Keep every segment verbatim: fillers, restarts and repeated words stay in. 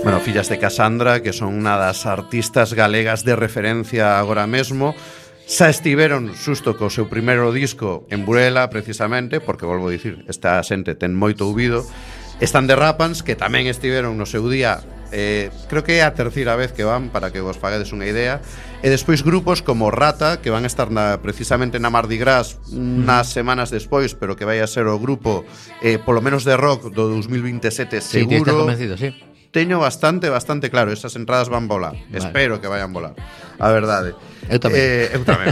Bueno, Fillas de Casandra, que son unha das artistas galegas de referencia agora mesmo. Xa estiveron xusto co seu primeiro disco en Burela, precisamente, porque, volvo a dicir, esta xente ten moito ouvido. Están de Rapans, que tamén estiveron no seu día, eh, creo que é a terceira vez que van, para que vos faguedes unha idea. E despois grupos como Rata, que van a estar na, precisamente na Mardi Gras unas semanas despois, pero que vai a ser o grupo, eh, polo menos de rock, do dos mil veintisiete, seguro. Sí, estás convencido, sí. Teño bastante, bastante claro. Esas entradas van volar, vale. Espero que vayan volar, a verdade. Eu tamén. eh, Eu tamén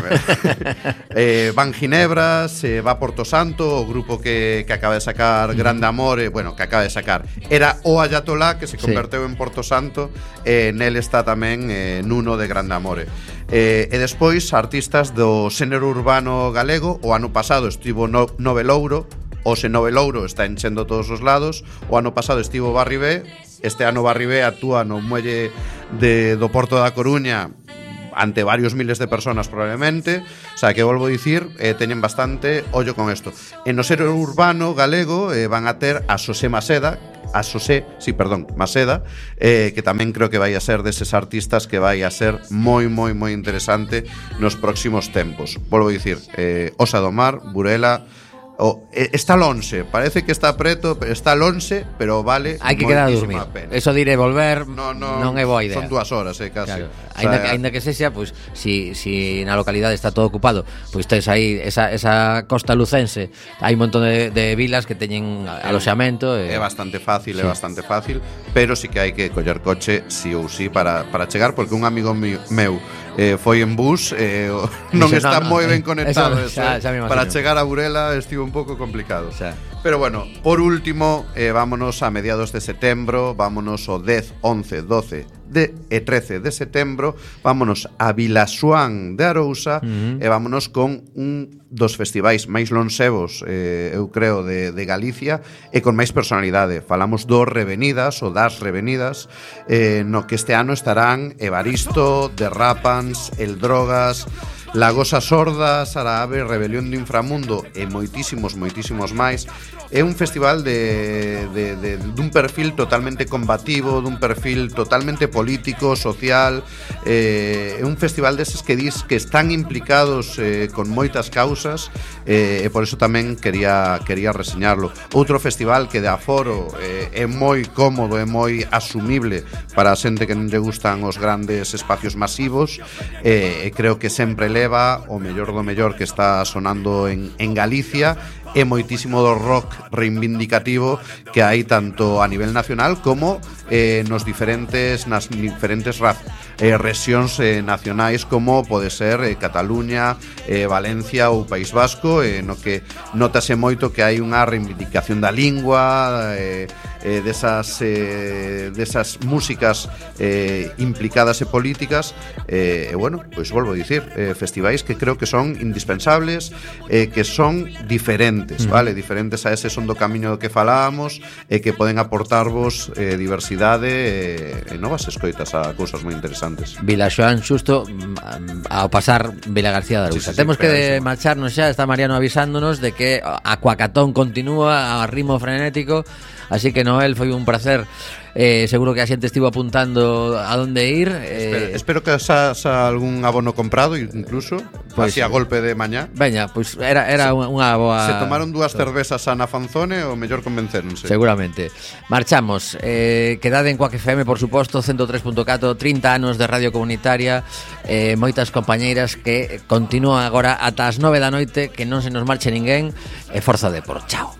eh, Van Ginebras, eh, va Porto Santo, o grupo que, que acaba de sacar Grande Amore. Bueno, que acaba de sacar era o Ayatolá, que se converteu sí. en Porto Santo. eh, Nel está tamén eh, Nuno de Grande Amore. eh, E despois artistas do xénero urbano galego. O ano pasado estivo no, Novelouro. O se Novelouro está enchendo todos os lados. O ano pasado estivo Barribé. Este ano Barribé actúa no muelle de, do Porto da Coruña ante varios miles de personas probablemente. O sea, que volvo a dicir, eh, teñen bastante ollo con isto. En o ser urbano galego eh, van a ter a Xosé Maseda, a Xosé, sí, perdón, Maseda, eh, que tamén creo que vai a ser deses artistas que vai a ser moi, moi, moi interesante nos próximos tempos. Volvo a dicir, eh, Osa do Mar, Burela. Oh, está lonxe, parece que está preto, está lonxe, pero vale. Hai que quedar a dormir. Pena. Eso diré volver, no, no, non é boa idea. Son dúas horas, eh, casi. Claro. O sea, Ainda que, ainda que sexa, pues, si, si na localidade está todo ocupado, pois pues tes aí esa, esa costa lucense. Hai un montón de, de vilas que teñen aloxamento. É e... bastante fácil, sí. é bastante fácil, pero sí que hai que coller coche sí ou sí para, para chegar, porque un amigo meu eh, foi en bus, eh, non Dice, está no, no, moi ben eh, conectado. eso, xa, xa para chegar a Burela estivo un pouco complicado. Xa. Pero bueno, por último, eh, vámonos a mediados de setembro, vámonos o dez, once, doce de, e trece de setembro, vámonos a Vilaxoán de Arousa. uh-huh. E vámonos con un dos festivais máis lonxevos, eh, eu creo, de, de Galicia, e con máis personalidade. Falamos dos Revenidas, ou das Revenidas, eh, no que este ano estarán Evaristo, The Rapans, El Drogas, La Gosa Sorda, Saraave, Rebelión do Inframundo e moitísimos, moitísimos máis. É un festival de, de, de, dun perfil totalmente combativo, dun perfil totalmente político, social. É eh, un festival deses que dis que están implicados eh, con moitas causas, eh, e por eso tamén quería, quería reseñarlo. Outro festival que de aforo eh, é moi cómodo, é moi asumible para a xente que non lle gustan os grandes espacios masivos, e eh, creo que sempre leva o mellor do mellor que está sonando en, en Galicia, e moitísimo do rock reivindicativo que hai tanto a nivel nacional como eh, nos diferentes nas diferentes raz, eh, rexións eh, nacionais, como pode ser eh, Cataluña, eh, Valencia ou País Vasco, eh, no que notase moito que hai unha reivindicación da lingua, eh, eh, desas, eh, desas músicas eh, implicadas e políticas, eh, e bueno, pois volvo a dicir, eh, festivais que creo que son indispensables, eh, que son diferentes, mm. vale, diferentes a ese son do camiño do que falábamos, e que poden aportarvos eh, diversidade e, e novas escoitas a cousas moi interesantes. Vilaxoán xusto ao pasar Vila García de Arousa. Sí, sí, Temos sí, que marcharnos xa, está Mariano avisándonos de que a Cuacatón continúa a ritmo frenético. Así que, Noel, foi un placer. eh, Seguro que a xente estivo apuntando a onde ir. eh... Espero, espero que xa, xa algún abono comprado, incluso pues, así a golpe de mañá. Veña, pois pues era, era se, unha boa... Se tomaron dúas cervezas a Nafanzone, o mellor convenceronse. Seguramente. Marchamos. eh, Quedade en Quack F M, por suposto, ciento tres punto catro, trinta anos de radio comunitaria, eh, moitas compañeiras que continúan agora ata as nove da noite. Que non se nos marche ninguén. E forza de por. Chao.